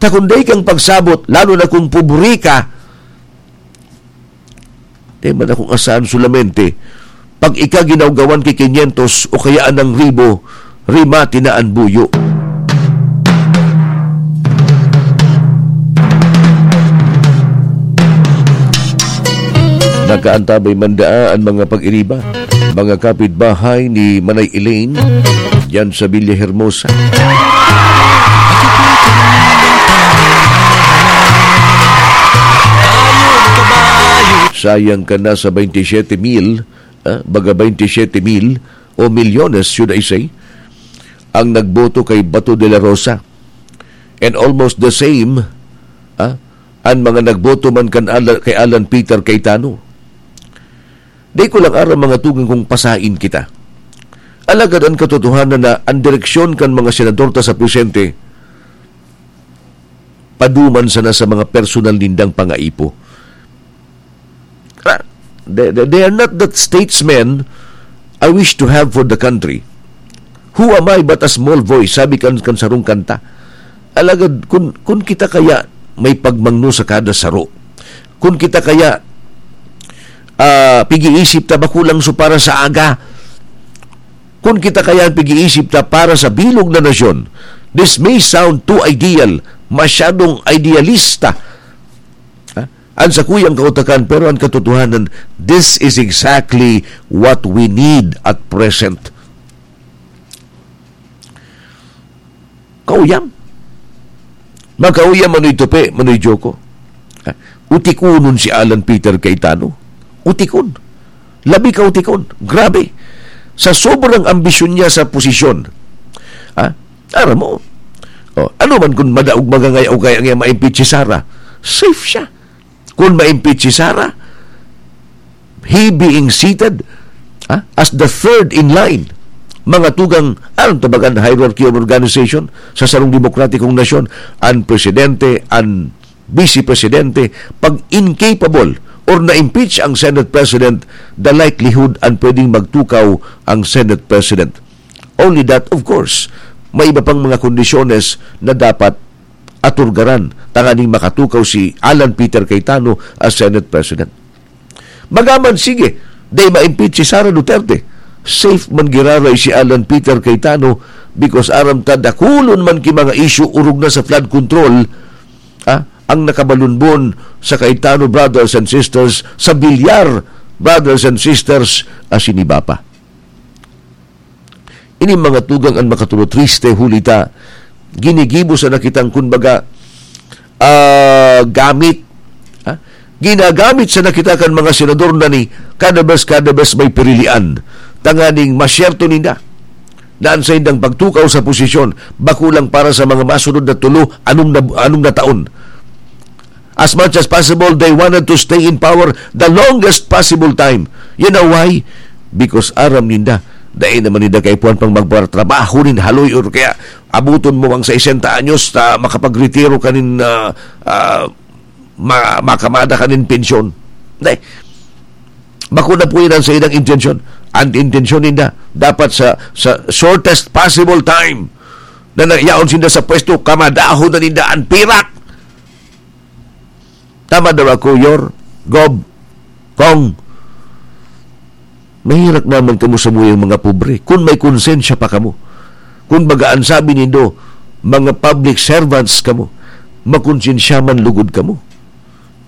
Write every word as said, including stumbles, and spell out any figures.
Na kung dai kang pagsabot, lalo na kung pobre ka, di man akong asahan solamente, pag ika ginawgawan ki kinyentos o kaya anang ribo, rimati na an buyo. Nakaantabay man daa an mga pag-iriba, mga kapitbahay ni Manay Elaine, diyan sa Villa Hermosa. Sayang ka na sa twenty-seven mil, ah, baga twenty-seven mil o milyones, should I say, ang nagboto kay Bato de la Rosa. And almost the same, ah, an mga nagboto man kan Ala-, kay Alan Peter Cayetano. Di ko lang aram, mga tugang, kung pasain kita. Alagad an katotohanan na an direksyon kan mga senador ta sa presente, paduman sana sa mga personal nindang pangaipo. Ah, they, they, they are not that statesmen I wish to have for the country. Who am I but a small voice, sabi kan, kan sarong kanta. Alagad, kun, kun kita kaya may pagmangno sa kada saro, kun kita kaya, ah, pig-iisip ta bako lang so para sa aga, kun kita kaya pig-iisip ta para sa bilog na nasyon, this may sound too ideal, masyadong idealista, ha? An sakuyang kautakan, pero an katotohanan, this is exactly what we need at present. Kauyam. Makauyam, Manoy Tupi, Manoy Joko. Ha? Utikonon si Alan Peter Cayetano. Utikon. Labi ka utikon. Grabe. Sa sobrang ambisyon niya sa posisyon. Ha? Aram mo. Oh, ano man kung madaog magangay o kaya niya ma-impeach si Sara, safe siya. Kung ma-impeach si Sara, he being seated, ah, as the third in line, mga tugang, anong tabagan, hierarchy of organization sa sarong demokratikong nasyon, an presidente, an vice presidente, pag incapable or na-impeach ang Senate President, the likelihood an pwedeng magtukaw ang Senate President. Only that, of course, may iba pang mga kondisyones na dapat aturgaran tanganing makatukaw si Alan Peter Cayetano as Senate President. Magaman, sige, dai ma-impeach si Sara Duterte. Safe man giraray si Alan Peter Cayetano because aram ta dakulon man ki mga issue orog na sa flood control, ah, ang nakabalunbon sa Cayetano brothers and sisters, sa Villar brothers and sisters, asin iba pa. Ini mga tugang an makatulo triste, huli ta ginigibo sana kitang, kumbaga, ah, gamit, ha? Ginagamit sana kita kan mga senador na ni kada bes, kada bes may pirilian, tanganing masyerto ninda na an saindang pagtukaw sa posisyon bako lang para sa mga masunod na tulo, anom na, anom na taon. As much as possible, they wanted to stay in power the longest possible time. You know why? Because aram ninda, dai naman ninda kaipuhan pang magtrabaho nin haloy or kaya abuton mo ang sesenta anyos ta makapagretiro ka nin, ah, ah, ma-, makamada ka nin pensyon. Dai. Bako na po yun ang saidang intensyon. Ang intensyon ninda, dapat sa, sa shortest possible time na nayaon sinda sa pwesto, kamadahon na ninda ang pirak. Tama daw ako, Yor, Gob, Kong. Mahirak naman kamo samuyang mga pobre, kun may konsensya pa kamo. Kun baga an sabi nindo, mga public servants kamo, makonsensya man lugod kamo.